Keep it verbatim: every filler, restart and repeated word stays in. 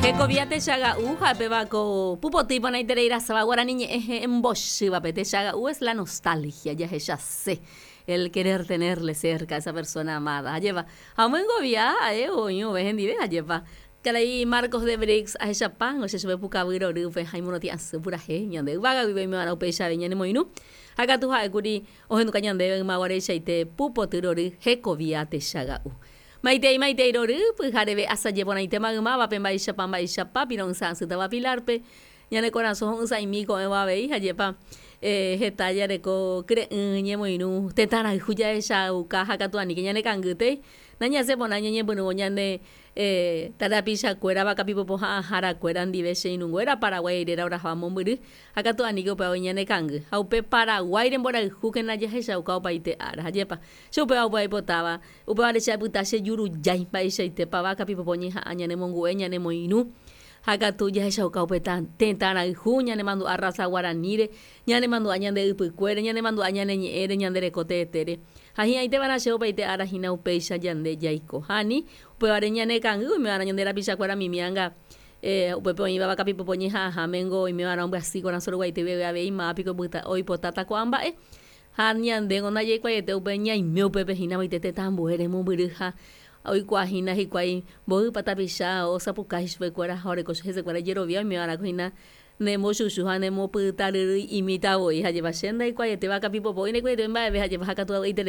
Hekovia techaga'u ha'épeva ko pupoty iporãitereirasáva guarani ñe'ẽ he'ẽmbochývape. Techaga'u es la nostalgia, jahechase, el querer tenerle cerca a esa persona amada. Ajépa ha omoengovia ha'e oĩvove hendive ajépa. Karai Marcos de Brix ahechapángo che chupe pukavy rorýpe ha imorotĩ'asy purahéi ñande yvága guive oimeva'erã upeichave ñanemoirũ ha katu ha'ékuri ohenduka ñandéve ymaguareichaite pupoty rory hekovia techaga'u. Maitei maitei rory pyhareve asaje porãite maymávape mba'eichapa mba'eichapa piro'ysã'asýtava Pilarpe ñane korasõ ho'ysãimi ko'ẽvo avei ajépa eh, heta jareko kyre'ỹ ñemoirũ tetã rayhu jahechauka ha katu aníke ñanekangýtei nañasẽporã ñañepyrũvo ñane eh, tarapichakuéra vakapipopo ha'ãharakuéra ndive che irũnguéra Paraguái réra oraháva mombyry ha katu aníke upéva ñanekangy ha upe Paraguáire mborayhúkena jahechauka opaite ára ajépa che upéva upe aipotáva upévare che apyta che jurujái mba'eichaitépa vakapipopo ñeha'ã ñanemongu'e ñanemoirũ ha katu jahechauka upe tetã rayhu ñanemandu'a raza guaraníre ñanemandu'a ñande ypykuére ñanemandu'a ñane ñe'ẽre ñande reko teetére ha hi'ãiteva'erã che opaite ára hína upéicha ñande jaiko ha ani upévare ñanekangy oimeva'erã ñande rapichakuéra mimianga eh, upépe oĩva vakapipopo ñeha'ãhámengo oimeva'erã ombyasy korasõ ruguaite guive avei mápiko oipotáta ko'ã mba'e ha ñandéngo ndajaikuaaiete upe ñaime upépe hína vaite tetã ambuére mombyry ha oikuaahína hikuái mboýpa tapicha osapukái chupekuéra ha oreko hesekuéra ijerovia oimeva'erã hína nembochuchu ha nemopytaryrýi imítavoi ha jepa che ndaikuaaiete vakapipopo ndaikuaaiete mba'eve ha jepa ha katu